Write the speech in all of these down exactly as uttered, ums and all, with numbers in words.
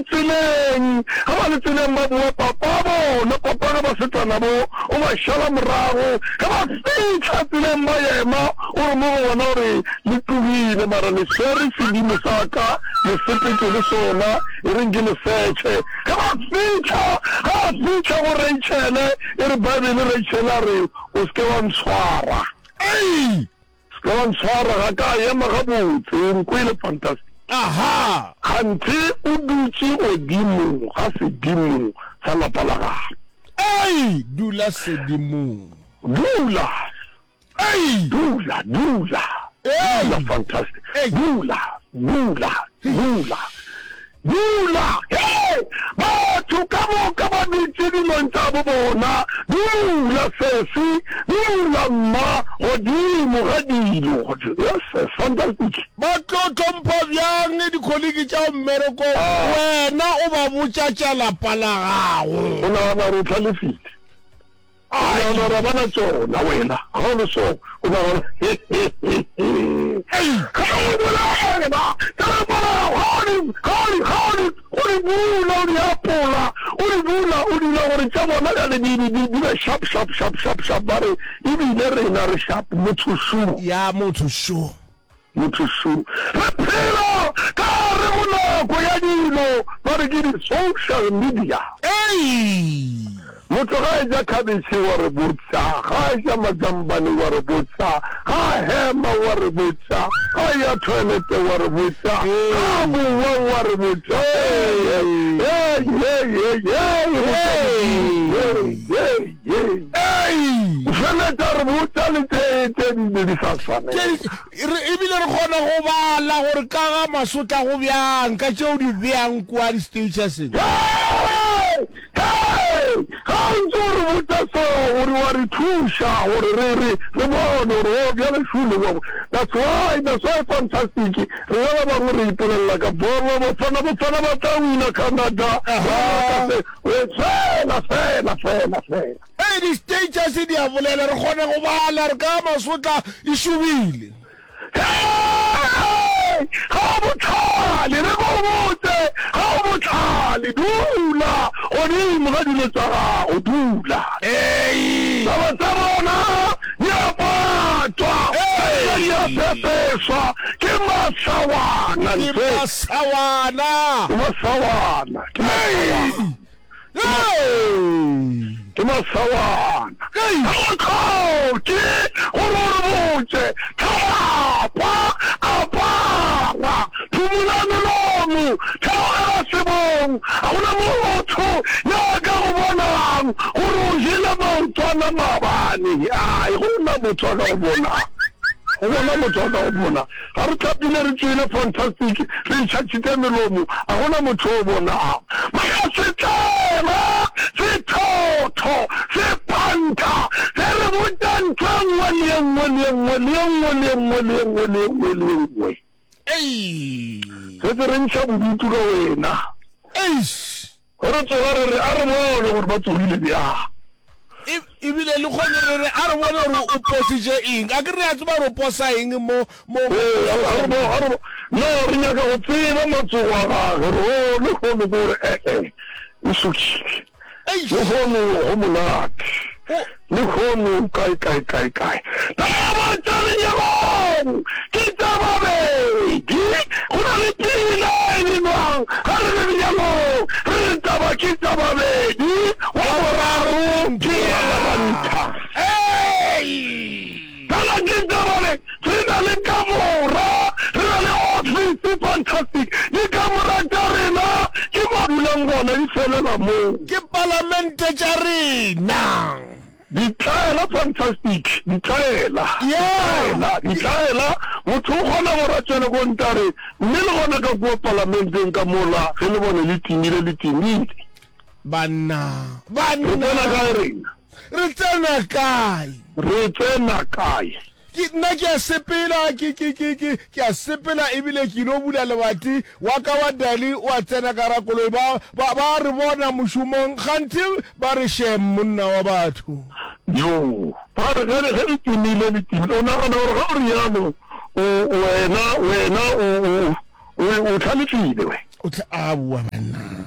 le tseleng, ge ba le tseleng ba boa, papa bona, papa ge basetsana bo, o ba šala morago. Ge ba fihla tseleng ba ema, o re mo go bona o re, Le tlogile, mara le swere sedimo sa ka, le sepetše le sona, e reng ke le setšhe. Ge ba fihla, ge a fihla go Rachele, e re Bibele, Rachele a re, O se ke wa ntshwara. Ei! Se ke wa ntshwara, ga ka ema gabotse, o nkwele, fantastic. Aha! Kganthe o dutše godimo ga sedimo sa lapa la gabo. Ei! Dula sedimong. Dula! Ei! Dula, dula, Ei! dula, fantastic. Ei! Dula, dula, dula, dula. Hei! Batho ka moka ba dutše dilong tša bo bona. Dula, sesi, dula, mma, godimo ga dilo. Yes, fantastic. Ba tlo hlompha bjang dikholiki tša mmerekong Ah. wena o ba botša tša lapa la gago? O nagana gore o hlalefile? O nagana gore ga ba na tšona wena ga o le so o nagana ga o bolela ga o di ga o di o di bula o di apola o di bula o dira gore tša bona bjale di di di be sharp sharp sharp sharp sharp ba re ebile rena re sharp motho šo ya motho šo Motho šo. Re phela ka gare go nako ya dilo ba re ke di social media. Ei! Motho ga a eja khabetšhe wa re botša, ga a eja majambane wa re botša, ga a hema wa re botša, ga a eya toilet wa re botša, ga a bowa wa re botša. Hey, hey, hey, hey, hey, hey, hey, hey. Ei! O feletša re botša le tše tše di be di sa swanela. Re, ebile re kgona go bala gore ka ga masotla go bjang ka tšeo di beang kua di-statuseng. Hei! Hei! Ga o ntse o re botša so, gore wa re thuša gore re, re, re bone gore, oh, bjale šole wa. That's why, that's why fantastic, rena ba bangwe re ipolelela ka bolo, Bafana, Bafana ba tla wina Canada, Aha. ka se, Fela, fela, fela, fela. Ee, di-status di a bolela, re kgona go bala re ka masotla e šobile. Hei! Ga o bohlale, re go botse, ga o bohlale, dula godimo ga dilo tša gago, dula. Ei! Taba tša bona di a patwa, Ei! di a pepeswa, ke masawana, Ke ntle. masawana. Ke masawana, ke masawana. Ei! Ke masawana. Ga go hloke gore o re botše. Tlhapa, apara, phumola melomo, theogela sebong. Ga go na motho yo a ka go bonang gore o jele maotwana maabane. Ai, go na motho a ka go bonang. Go bona motho a ka go bona. Ga re hlapile re tšwele fantastic re itšhatšhitše melomo a gona motho o bonago. Mara setlaela, sethotho, sephantha se re botša ntho e nngwe le e nngwe le e nngwe le e nngwe le e nngwe le e nngwe le e nngwe le e nngwe. Ei! Se se re ntšha bodutu ka wena. Eish! Ge re tsoga re re, A re bone gore ba tsogile bjang. E, ebile le kgone re re, A re bone gore o positše eng. A ke re a tseba gore o posa eng mo, mo, mo Ee, a, a re bo, a re bo, no, re nyaka go tseba matsogo a gage, re, oh, lehono ke gore, eh-eh, o sokile. Eish! Lehono go monate. O. Lehono kae, kae, kae, kae. Taba tša lenyalong ke tša babedi. Go na le pina e binwang ga re le lenyalong, re re taba ke tša babedi, wa boraro ke wa marantha. Taba ke tša babedi. Re na le kamora, re na le ofisi, fantastic. Dikamora tša rena ke mo dulang gona, di felela moo. Ke palamente tša rena. Ditlaela, fantastic, ditlaela, Yeah. ditlaela, ditlaela. Motho o kgona gore a tšwele ko ntle a re, mme le gona ka kua palamenteng ka mola, ge lebone le timile, le timile. Banna, Re tsena banna, kae rena? re tsena kae? Re tsena kae? Ke, nna ke a sepela, ke, ke, ke, ke, ke a sepela ebile ke ilo bula lebati, wa ka wa Dali o a tsena ka gara koloi, ba, ba, ba re bona mošomong, kganthe ba re shem monna wa batho. Yoo, ba re ge, ge le timile, le timile. O nagana gore ga o realo, o, wena, wena o, o, o, o hlalefile, we. O tla, aowa banna.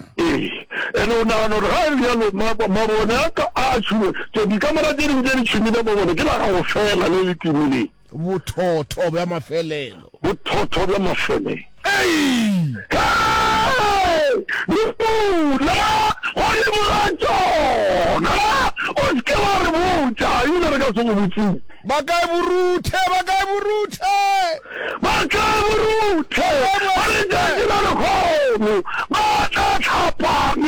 Ene o nagana gore ga e le bjalo mabone a ka a tšhume, tše dikamera tše dingwe tše di tšhumile mabone ke la gago fela le le timileng. Bothotho bja mafelelo. Bothotho bja mafelelo. Ei! Hei! Dula godimo ga tšona! O se ke wa re botša, ebile re ka se go botšiše. Ba kae boRuthe? Ba kae boRuthe? Ba kae boRuthe? Ba letšatši la lehono ba tla hlapang,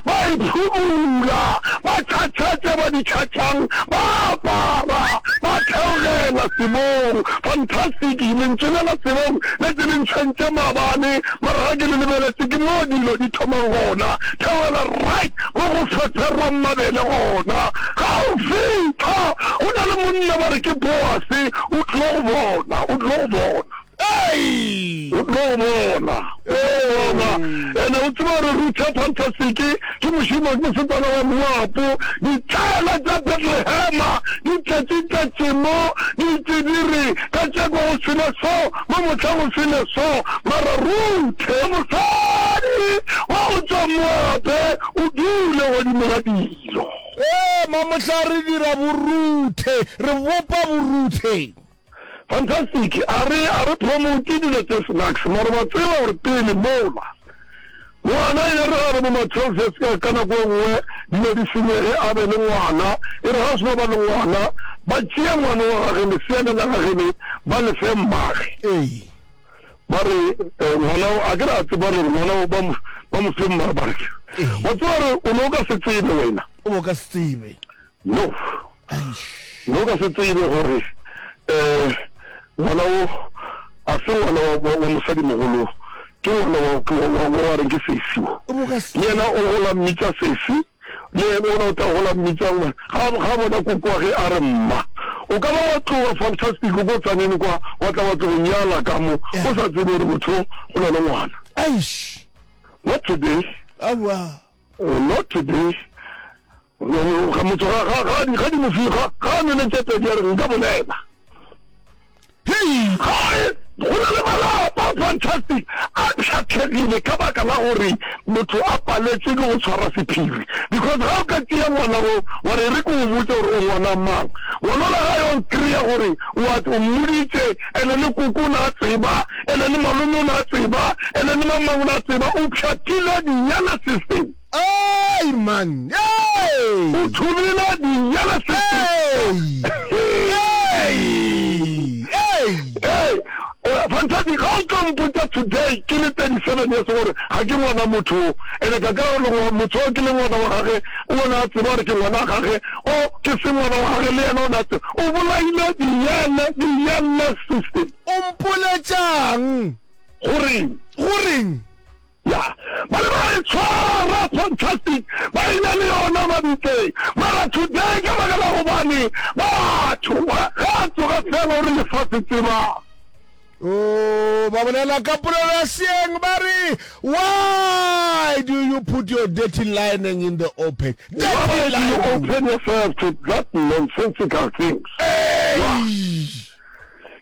ba iphumula, ba tšhatšha tše ba di tšhatšhang, ba apara, ba theogela sebong. Fantastic! Lentšu le la sebong le tse le ntshwentše maabane, mara ga ke le lebeletše ke moo dilo di thomang gona. Theogela right mo go feferwang mabele gona. Ga o fihla, go na le monna ba re ke Boase, o tlo go bona, o tlo go bona. O tlo go bona, o tlo go bona. Ene o tseba gore Ruthe Fantastic ke mošemane, ke mosetsana wa Moapo. Ditlaela tša Bethlehema di tletše-tletše mo, di ntše di re, Kajeko go sele so, mo mohla go sele so. Mara Ruthe, mosadi wa go tšwa Moape, o dule godimo ga dilo. Ee, mamohla re dira boruthe, re bopa boruthe. Fantastic, a re, a re promote dilo tše snacks, mara wa tseba gore pele mola, ngwana e re a re bo ma twelve years ka, ka nako e nngwe dilo di senyege a be le ngwana, e re ga a seno ba le ngwana, ba tšee ngwana wa gage, lesea le la gage le, ba le fe mmage. Ee. Ba re, eh, ngwana o, a ke re a tseba gore ngwana o ba mo, ba mo fe mmage, ba re, Ee. wa tseba gore o ne o ka se tsebe wena. O bo ka se tsebe. No. No ka se tsebe gore um ngwana wo a se ngwana wa, wa mosadimogolo, ke ngwana wa, wa, wa, wa reng ke sesi wo. Le yena o gola mmitša sesi, le yena ona o tla gola mmitša ngwana. Ga, ga bona koko wa ge a re mma. O ka ba wa tloga Fantastic ko Tzaneen kwa, wa tla wa tlo go nyala ka mo, o sa tsebe gore motho o na le ngwana. Eish. Not today. Aowa. Not today. Ga motho ga ga ga ga di mo fi ga ga a nwele tše pedi a re nka bolela. Hei! Ga go na le malapa fantastic a pšhatlhegile ka baka la gore motho a paletšwe ke go tshwara sephiri because ga o ka tšea ngwana wo wa re re ke o botse gore o ngwana mang ngwana ola ga yo kry-a gore wa o mmoditše ene le koko o ne a tseba ene le malome o ne a tseba ene le mang mang o ne a tseba o pšhatlile dinyana system. Hey man, hey! O thubile dinyana Hey! Hey! Hey! Hey! Fantastic, ga o tlo mpotša today ke le thirty seven years gore ga ke ngwana motho o. Ene ka kry-a gore motho o ke le ngwana wa gage, o ne a tseba gore ke ngwana wa gage, o ke se ngwana wa gage le yena o ne a tseba. O bolaile dinyana, dinyana system. O mpoletšang? Goreng? Goreng? Ya, ba be ba e tshwara fantastic, ba e na le yona mabitleng. Mara today ka baka la gobane batho ge a tsoga fela o re lefase tsebang. Oh, ba bolela ka polelo ya seeng ba re, Why do you put your dirty lining in the open? Dirty Why do you lining. open yourself to that nonsensical things? Hey!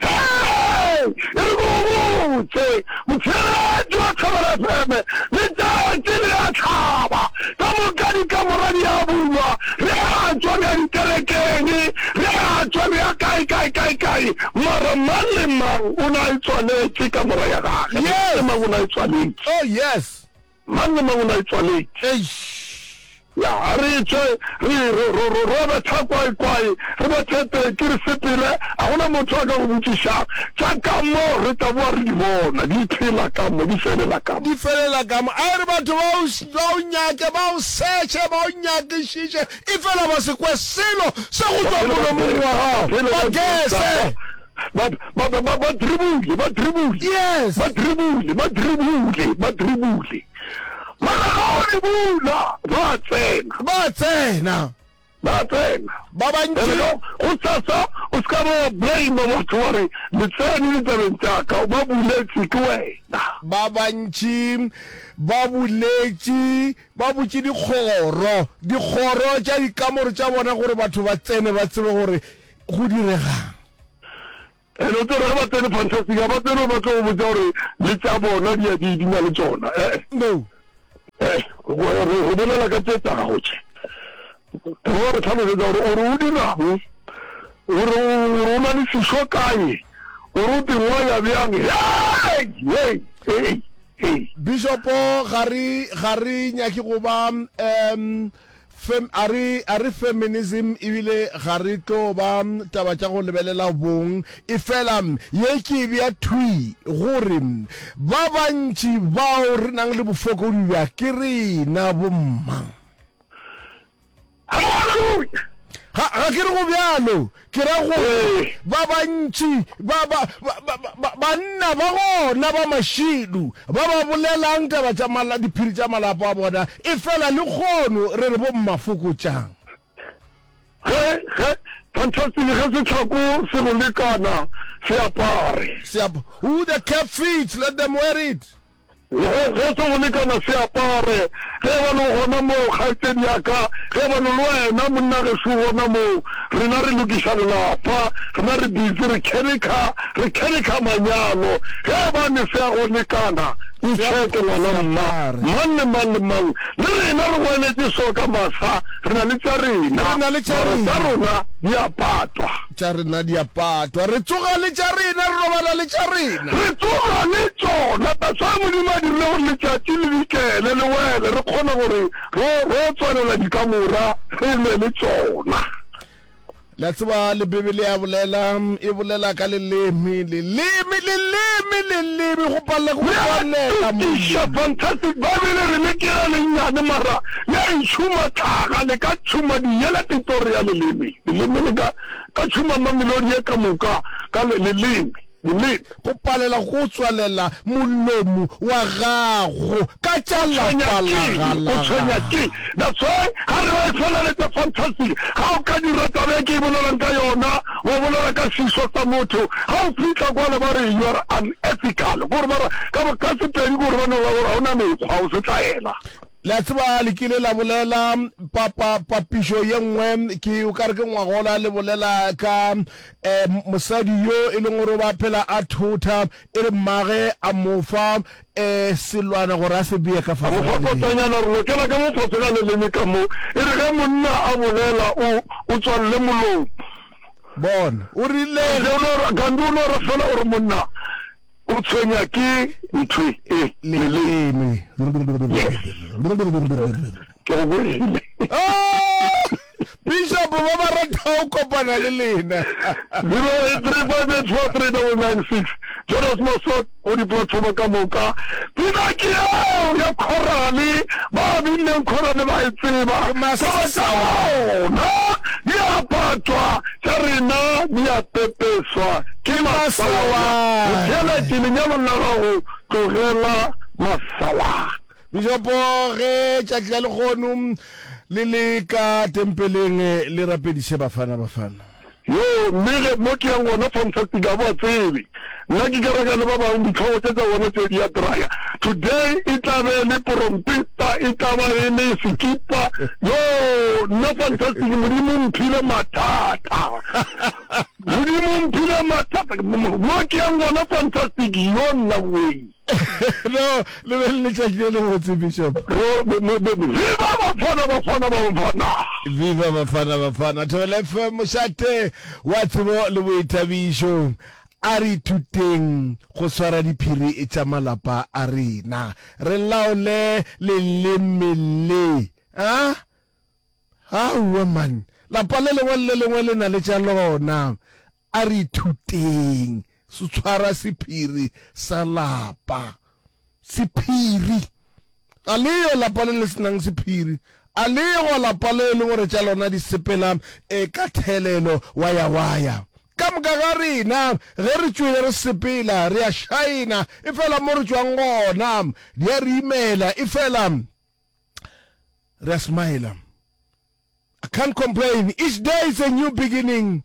Hei! E re ko go botše, motheeletši wa Thobela F M, letšatši le a hlaba, ka moka dikamora di a bulwa, re a tšwa re ya dikerekeng, re a tšwa re ya kae, kae, kae, kae, mara mang le mang o na e tswaletše kamora ya gage, mang le mang o na e tswaletše. Oh, yes. Mang le mang o na e tswaletše. Eish. Ya, a re tšwe re, ro, ro, ro, ro betha kwae-kwae, re bethe teki, re sepele, a go na motho a ka go botšišang. Tša ka mo re tla boa re di bona, di phela ka mo, di felela ka mo. Di felela ka mo. A e re batho ba o, ba o nyake, ba o searche, ba o nyakišiše, efela ba se kwe selo se go tšwa molomong wa gago. Ba guesse. Ba, ba, ba, ba, ba dribule, ba dribule. Yes. Ba dribule, ba dribule, ba dribule. Mara ga o dribula, ba tsena. Ba tsena. Ba tsena. Ba bantši. Ene go, go sasa o se ka ba wa blame batho wa re le tsene ditabeng tša ka, ba buletše ke wena. Ba bantši ba buletše, ba butše dikgoro, dikgoro tša dikamore tša bona gore batho ba tsene ba tsebe gore go diregang. And o tsebe ge ba tsene Fantastic, ga ba tsene ba tlo go botša gore le tša bona di, di, di na le tšona. Eh, No. eh, Re bolela ka tše tša gago tše. Wa re hlalosetša gore o re o dirang, gore o na le sešo kae, gore o tingwaya bjang. Hei! Hei! Hei! Hei! Bishopo, ga re, ga re nyake go ba, um, fem, a re, a re feminism, ebile ga re tlo ba taba tša go lebelela bong, efela ye ke e bea thwi gore ba bantši bao re nang le bofokodi bja ke rena bomma. Hallelujah! Ga, ga ke re go bjalo, ke ra gore ba bantši ba, ba, ba, ba, ba, banna ba gona ba mašidu ba ba bolelang taba tša mala, diphiri tša malapa a bona, efela lehono re re bomma fokotšang. Ge, ge, fantastic, ge sehlako se go lekana, se apare. Se ap, who the cap fits, let them wear it. Ge, ge se go lekana se apare. Ge e ba le gona moo, kgaetšedi ya ka, ge e ba le wena, monna gešo, gona moo, rena re lokiša lelapa, rena re busy re kherekha, re kherekha manyalo. Ge e ba ne se a go lekana, ntšheke, ngwana mma, mang le mang le mang. Le rena re goeletše so ka masa, re na le tša rena, Re na le tša mara rena. tša rona di a patwa. Tša rena di a patwa. Re tsoga le tša rena, re robala le tša rena. Re tsoga le tšona. That's why Modimo a dirile gore letšatši le dikele, le wele, re kgone gore ro, ro tswalela dikamora, re lwe le tšona. Le a tseba, le Bibele ya bolela, e bolela ka leleme, leleme, leleme, leleme, go palela ke go Le a tswalela tukiša, molomo. fantastic. Bible e re le ke le lennyane, mara le a e tšhuma tlhaga, le ka tšhuma diyela tetori ya leleme. Leleme le ka, ka tšhuma mamelodi ye ka moka ka le, leleme, leleme. Go palela go tswalela molomo wa gago ka tša O tshwenya lapa la keng? ga O la tshwenya gago. keng? That's why ga re ba e feleletša fantastic. Ga o ka dira taba e ke e bolelang ka yona, wa bolela ka sešo sa motho, ga o fihla kwale ba re you are unethical. Kore ba ra, ka, ka Sepedi kore ba no ba gore ga o na mekgwa, o setlaela. Le a tseba, le kile la bolela pa, pa, papišo ye nngwe, ke o ka re ke ngwagola, le bolela ka eh, mosadi yo e leng gore o ba phela a thotha, e re mmage a mo fa eh, selwana gore a se bee ka A fase mo ga fa leleme. kotanyana, re lokela ka mo fase ga leleme ka mo. E re ge monna a bolela, o, o tswalele molomo. Bona, o rile. Gantši o no ra, Gandhi o no ra fela o re monna O tshwenya ke ntho e leleme. Yes. Ke go kwele. Oh! Bishop ba ba rata go kopana le lena. Zero eight three five eight four three double nine six. Jonas Masot go di-platform ka moka. Pina ke eo ya khorale, ba binneng khorale ba e tseba. Ke masawana. Bona di a patwa. Tša rena di a pepeswa ke masawana. Motheeletši, lenyalong la gago tlogela masawana. Bishopo, ge tšatši la lehono le le ka tempeleng, le rapediše Bafana Bafana. Yoo, mme ge mo ke yang gona fantastic ga ba tsebe. Nna ke kereka le ba bangwe ditlhogo tše tša bona tše di a draya. Today e tla be e le porompeta, e tla ba e le sekipa. Yoo, nna fantastic Modimo o mphile mathata. Modimo o mphile mathata. Mo ke yang gona fantastic, yo nna wee. No, le be le letšatši le lebotse, Bishop. Viva Bafana Bafana Bafana! Viva Bafana Bafana! Thobela F M, mošate wa tsebo le boithabišo. A re ithuteng go swara diphiri tša malapa a rena, re laole leleme le. A? Aowa man, lapa le lengwe le le lengwe le na le tša lona. A re ithuteng go tshwara sephiri sa lapa. Sephiri. Ga le yo lapa le le se nang sephiri. A le go lapa le e leng gore tša lona di sepela e ka thelelo wa ya wa ya. Ka moka ga rena ge re tšwele re sepela re a šaena, efela mo re tšwang gona di a re imela, efela re a smiler. I can't complain, each day is a new beginning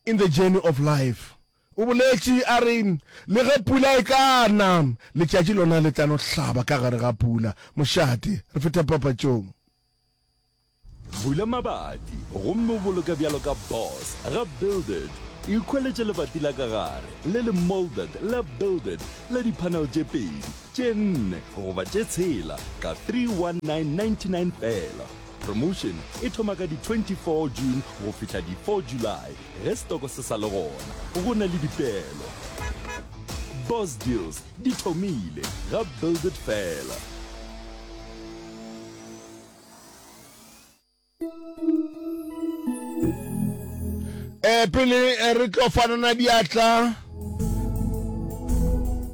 in the journey of life. O boletše a re, Le ge pula e ka na, letšatši lona le tla no hlaba ka gare ga pula. Mošate, re feta papatšong. Bula mabati gomme o boloke bjalo ka boss ga Build It. Ikhweletše lebati la ka gare le le moulded la Build It la di-panel tše pedi Tše nne goba tše tshela ka three one nine ninety nine fela. Promotion e thoma ka di twenty four June go fihla di four July ge stoko se sa le gona. Go na le dipeelo. Boss Deals di thomile ga Build It fela. Eh, pele eh, re tlo fanana diatla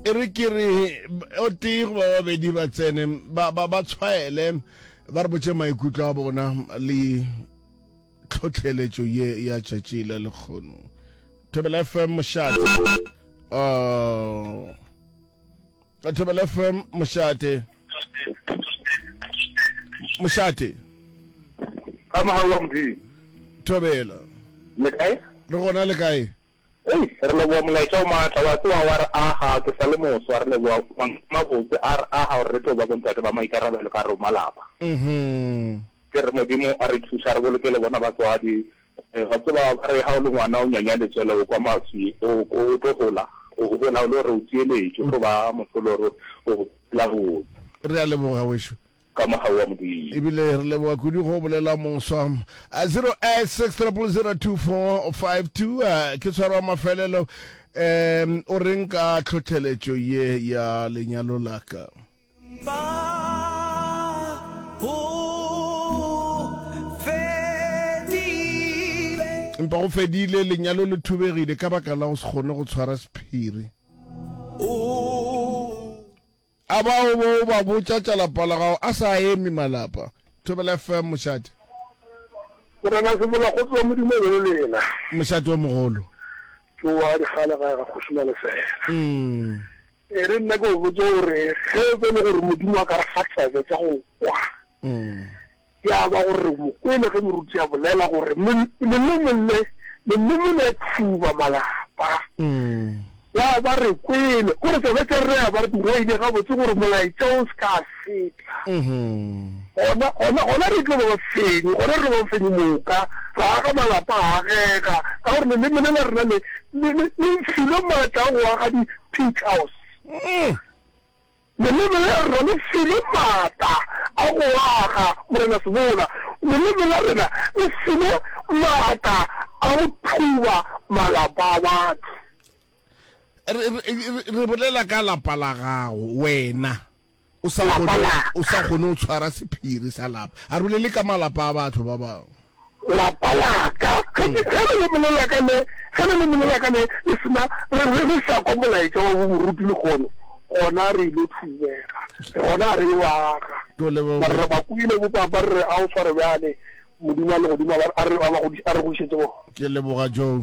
e re ke re o tee goba babedi ba tsene ba ba ba tshwaele ba re botše maikutlo a bona le tlhotlheletšo ye ya tšatši la lekgono. Thobela F M mošate. Oh. Thobela F M mošate. Mošate. Ka mogau wa Modimo. Thobela. Le kae? Re gona, le kae? Ei, re leboga molaetša o maatla, wa tseba wa re aga, ke sa le moswa, re leboga mantšu a mabotse a re aga gore re tlo ba bontate ba maikarabelo ka gare go malapa. Mhm. Ke re Modimo a re thuša, re boloke le bona batswadi. Wa tseba ba re ga o le ngwana o nyanya letswele o kwa maswi, o, o tlo gola, o gola o le gore o tieletše, o tlo ba motho o le gore o phela botse. Re a leboga wešo. Ka mogau wa Modimo. Ebile re leboga kudu go bolela moswa. Zero eight six triple zero two four five two ke tshwaro wa mafelelo. Um o reng ka tlhohleletšo ye ya lenyalo la ka? Empa go fedile, lenyalo le thubegile ka baka la go se kgone go tshwara sephiri. A ba o bo o ba botša tša lapa la gago a sa eme malapa. Thobela F M mošate. Morena Sebola kgotso wa Modimo e be le lena. Mošate o mogolo. Ke wa dikgale gae ga Kgoši Malefela. E re nna ke go botse gore ge e be le gore Modimo a ka re fa tsebe tša go kwa, ya ba gore re mo kwele ge moruti a bolela gore leleme le, leleme le thuba malapa. Ya ba re kwele gore tsebe tša rena ya ba re di reile gabotse gore molaetša o se ka feta. Gona, gona, gona re tlo ba bafenyi, gona re tlo ba bafenyi moka, ra aga malapa a agega, ka gore leleme le la rena le, le, le, le filwe maatla a go aga di-pig house. Leleme la rena le filwe maatla a go aga, Morena Sebola. Leleme la rena le filwe maatla a go thuba malapa a batho. Re, re, re bolela ka lapa la gago, wena o sa Lapa kgone, la ka. o sa kgone go tshwara sephiri sa lapa. A re bolele ka malapa a batho ba bangwe. Lapa la ka, ge ke, ge leleme le la ka le, ge leleme le la ka le, le se na, re, re, re sa kwa molaetša wa bomoruti lehono, gona re ile thubega, gona re yo aga. Ke o leboga. Mara re ba kwele bo papa re re a o tshware bjale, Modimo wa legodimo a ba, a re, a ba godiše, a re godišetše bona. Ke leboga Joe.